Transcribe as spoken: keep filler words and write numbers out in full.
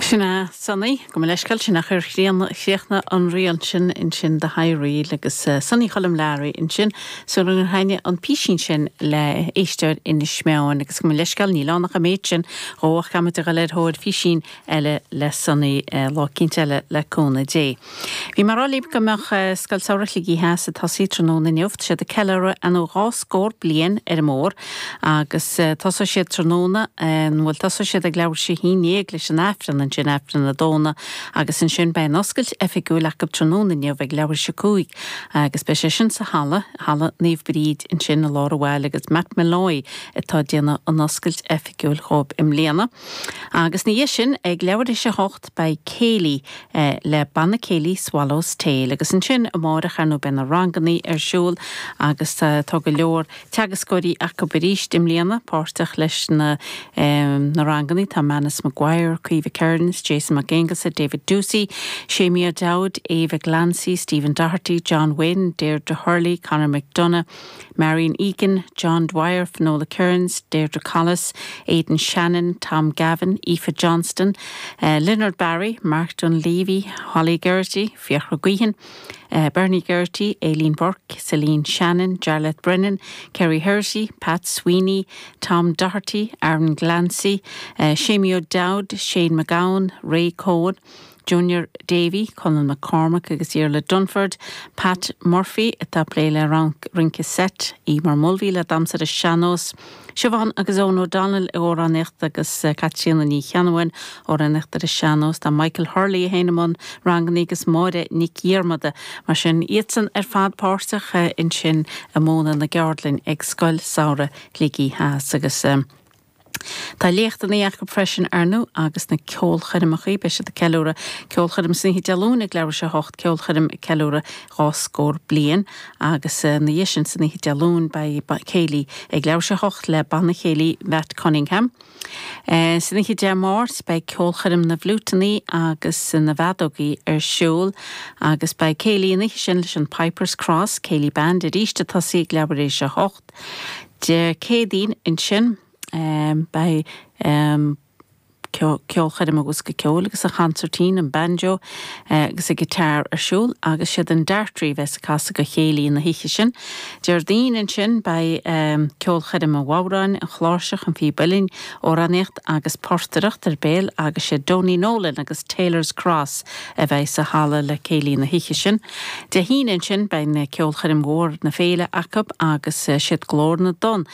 Sin é Sonny gabh mo leithscéal sin ach ar chríochnaigh an rian sin ansin The High Reel agus uh, Sonny Choilm Learaí ansin so an haine an písín sin le éisteoir Inis Meáin agus gabh mo leithscéal níl anach a méid sin óach cam go leir thóir físín eile le Sonny uh, lá eicínt eile le cúnamh Dé. Bhí mé ag rá libh go mbeadh uh, Scoil Samhraidh Shligigh Theas ag tosaí tráthnóna inniu siad ag ceiliúradh an dhá scór bliain ar an mór agus uh, tosóidh siad tráthnóna bhfuil tosóidh siad ag leathuair tar éis a haon déag leis an Aifreann ansin Aifreann na dóna agus ansin beidh an oscailt oifigiúil acu tráthnóna inniu ag leathuair tar éis a cúig agus beidh sé sin sa halla halla Naomh Bríd ansin i lár an bhaile agus Matt Malloy atá ag déanamh an oscailt oifigiúil dhóibh i mbliana. Agus ina dhiaidh sin ag leathuair tar éis a hocht beidh céilí eh, le banna céilí Swallow's Tail agus ansin amárach ar ndóigh beidh na ranganna ar siúl agus uh, tá go leor teagascóirí acu arís i mbliana páirteach leis na, um, na ranganna tá Manus Maguire, Caoimhe Kearns, Jason McAngus, David Ducey, Shamir Dowd, Ava Glancy, Stephen Doherty, John Wynne, Deirdre Hurley, Conor McDonough, Marion Egan, John Dwyer, Finola Kearns, Deirdre Collis, Aidan Shannon, Tom Gavin, Aoife Johnston, uh, Leonard Barry, Mark Dunleavy, Holly Geraghty, Fiachra Guihan, uh, Bernie Geraghty, Aileen Burke, Celine Shannon, Jarlath Brennan, Kerry Hersey, Pat Sweeney, Tom Doherty, Aaron Glancy, uh, Shamie O'Dowd, Shane McGowan, Ray Cohen, Junior Davy, Colin McCormack agus Iarla Dunford, Pat Murphy atá ag plé le rince seit, Emer Mulvey le damhsa ar an sean-nós, Siobhán agus Eoin O'Donnell amhránaíocht agus Caitríona Ní Cheannabháin amhránaíocht ar an sean-nós tá Michael Hurley féin i mbun ranganna agus Máire Nic Dhiarmada mar sin iadsan ar fad páirteach ansin i mbun na gceardlann ag Scoil Samhraidh Shligigh Theas agus um, Tá léachtanna acu freisin ar ndóigh agus na ceolchoirmeacha beidh siad ag ceiliúradh ceolchoirm san oíche Dé Luain ag leathuair tar éis a hocht ceolchoirm ceiliúradh dhá scór bliain agus ina dhiaidh sin san oíche Dé Luain beidh céilí ag leathuair tar éis a hocht le banna céilí Matt Cunningham. Uh, San oíche Dé Máirt beidh ceolchoirm na bhfliúiteanna agus na bhfeadógaí ar siúl agus beidh céilí an oíche sin leis an Pipers Cross Céilí Band arís ag tosaí ag leathuair tar éis a hocht. Dé Céadaoin ansin um, beidh um, ceolchoirm agus go ceol agus a chansairtín an banjo uh, agus a guitar ar siúl agus siad an Dartrí bheas ag casadh do chéilí na hoíche sin. Déardaoin ansin beidh um, ceolchoirm an bhodhráin an chláirseach an phíb uilleann amhránaíocht agus portaireacht ar béal agus sé Donie Nolan agus Taylor's Cross a bheidh sa halla le céilí na hoíche sin. Dé hAoine ansin beidh na ceolchoirm mhór na féile acu agus uh, siad Glór na dTonn